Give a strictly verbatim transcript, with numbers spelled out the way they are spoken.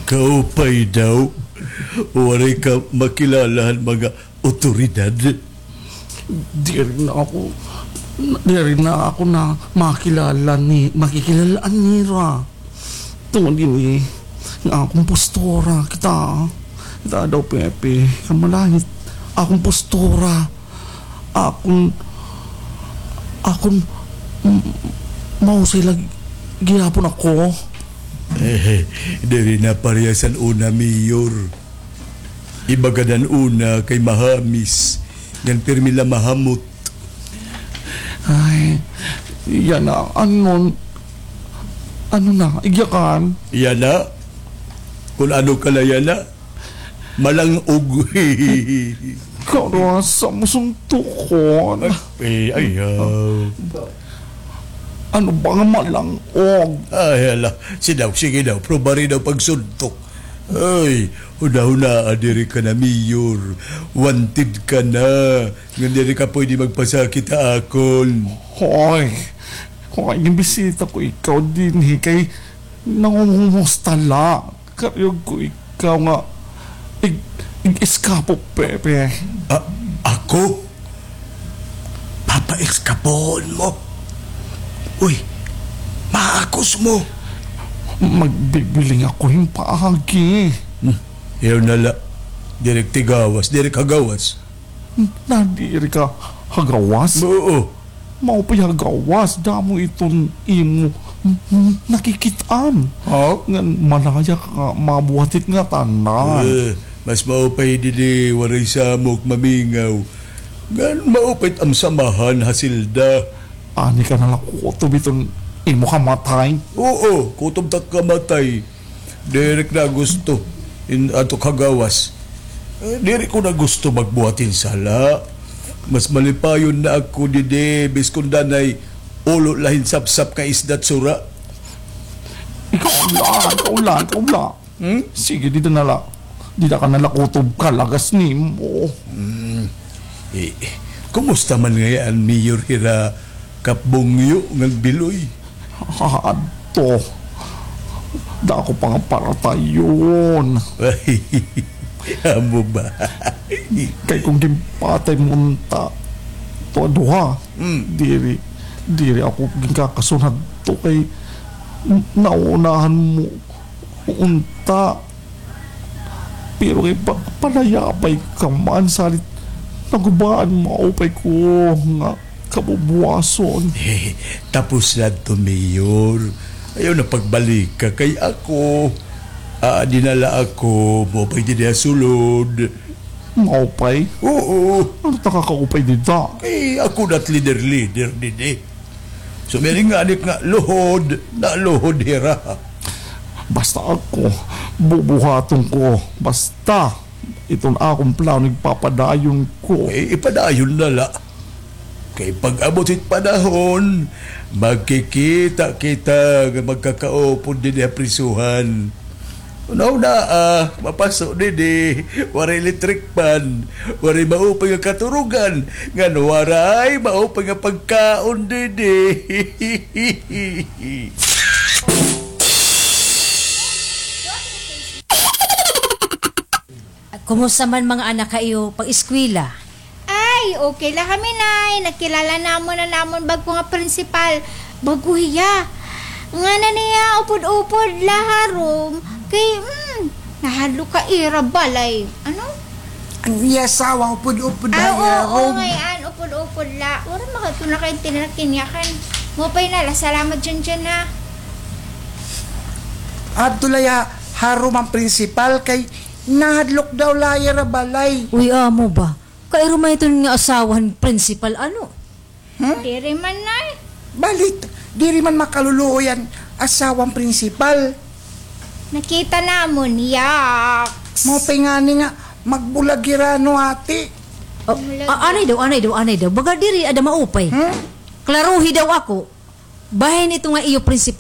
Kaupay daw. Waray ka makilala han mga awtoridad. Diri na ako, diri na ako na makilala ni, makikilala-an nira. Tungod ini nga akon postura, kita, kita daw, Pepe, kan malangit, akon postura, akon, akon, m-, mahusay la gihapon ako. Eh, diri na parehas han una, Mayor. Iba gad an una kay mahamis, ngan pirmi la mahamot. Ay, yana, ano, ano na, igyakan? Yana? Kon ano ka la yana? Malang-og. Karasa mo suntukon. Eh, ayaw. Ano ba nga malang-og? Ay, hala. Sige daw, sige daw. Probari daw pagsuntok. Ay, hunahunaa diri ka na, Mayor. Wanted ka na. Ngan diri ka pwede magpasakit ha akon. Hoy, hoy, ginbisita ko ikaw dinhi kay nangungumusta la. Karuyag ko ikaw nga ig-, ig-eskapo, Pepe. A-, ako? Papa-eskapohon mo? Uy, maakos mo. Magbibiling ako hin paagi. Hmm, ayaw na la. Diri ak tigawas, diri ak hagawas. Nadiri ka hagawas? Oo. Maupay hagawas, damo iton imo nakikit-an. Ha? Ngan malaya ka nga mabuhat it ngatanan. Eh, mas maupay didi waray samok mamingaw. Ngan maupay it am samahan ha selda. Ani ka na la kutob iton imo kamatay? Oo, kutob it ak kamatay. Diri ko na gusto in ato kagawas. Eh, diri ko na gusto magbuhat hin sala. Mas malipayon na ako didi, biskon danay ulo la hin sapsap ka isda it sura. Ikaw la, ikaw la, ikaw la. Hmm? Sige, dida na la. Dida ka na la kutob kalagas nimo. Hmm. Eh, kumusta man ngay-an, Mayor, hira Kap Bungyo ngan Biloy? Adto. Dako pa nga paratayon. Amo ba? Kay kon ginpatay mo unta, to duha. Mm. Diri, diri ako ginkakasunod to kay naunahan mo unta. Pero kay pa-, palayapay ka man, salit nagubaan, maupay ko nga kabubuwason. Tapos na to, Mayor. Ayaw na pagbalika kay ako. Ah, dinala ako, maupay didi ha sulod. Maupay? Oo. Ano ta kakaupay dida? Kay ako na it leader-leader didi. Sumiring nga anik nga luhod, naluhod hira. Basta ako, bubuhaton ko. Basta, iton akon plano, igpapadayon ko. Eh, ipadayon na la. Kay pag-abot it panahon, magkikita kita nga magkakaupod didi ha prisuhan. Hunahunaa, mapaso didi, waray electric fan, waray maupay nga katurugan, ngan waray maupay nga pagkaon didi. Kumusta man mga anak ha iyo pag-eskwela? Ay, okay la kami, Nay. Nakilala namon an amon bag-o nga principal. Bag-o hiya. Ngana niya, upod-upod la ha room. Kay, hmm, nahadlok ha ira balay. Ano? An iya asawa, upod-upod la ha ira room. Ah, oo, ngay-an, upod-upod la. Waray man ko nakaintindihan kaniya kan. Maupay na la. Salamat, Junjun, ha. Adto la ha room an principal kay nahadlok daw la ha ira balay. Uy, amo ba? Kay iro man iton nga asawa han principal, ano? Hmm? Diri man, Nay. Balit, diri man makaluluoy an asawa han principal. Nakita namon, yaks. Maupay ngani nga magbulag hira, no, ate? Oh, anay daw, anay daw, anay daw. Baga diri ada maupay. Hmm? Klaruhi daw ako. Bahin ito nga iyo principal.